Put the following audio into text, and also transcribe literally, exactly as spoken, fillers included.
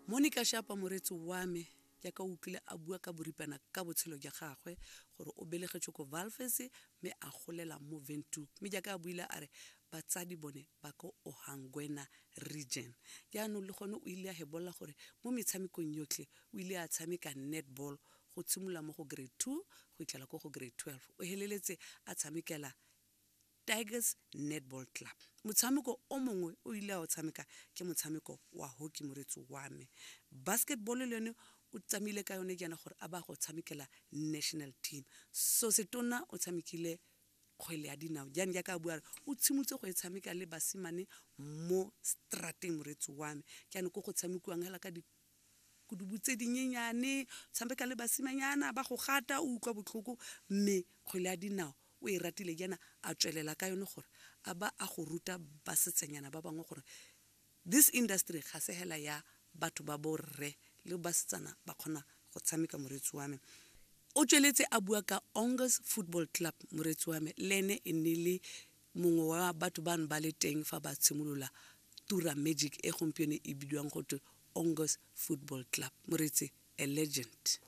Monica Shapa, moreetsi wa me, jaaka o utlwile a bua ka boripana ka botshelo jwa gagwe gore o belegetswe ko Walvis mme a golela mo Windhoek, mme jaaka a buile a re batsadi bone ba ko Ohangwena Region. Jaanong le gone o ile a hebolla gore mo metshamekong yotlhe o ile a tshameka netball go tshimolola mo go grade two go itlhela ko go grade twelve. O heleletse a tshamekela Tigers Netball Club. Motshameko o mongwe o ile a o tshameka ke motshameko wa hockey, moreetsi wa me. Basketball le yone o tsamaile ka yone jaana gore a ba go tshamekela national team. So setona o tshamekile kgwele ya dinao jaanong, jaaka a bua re o tshimotse go e tshameka le basimane mo strateng, moreetsi wa me. Jaanong ko go tshamekiwang hela ka dikudubu tse dinyenyane, tshameka le basimanyana ba go gata, o utlwa botlhoko, mme kgwele ya dinao o e ratile jaana a tswelela ka yone gore a ba a go ruta basetsanyana ba bangwe gore this industry ga se hela ya batho ba borre, le basetsana ba kgona go tshameka, moreetsi wa me. O tsweletse a bua ka Ongus Football Club, moreetsi wa me. Le ene e ne le mongwe wa batho bano ba le teng fa ba tshimolola Tura Magic e gompieno e bidiwang gotwe Ongus Football Club. Moreetsi, a legend.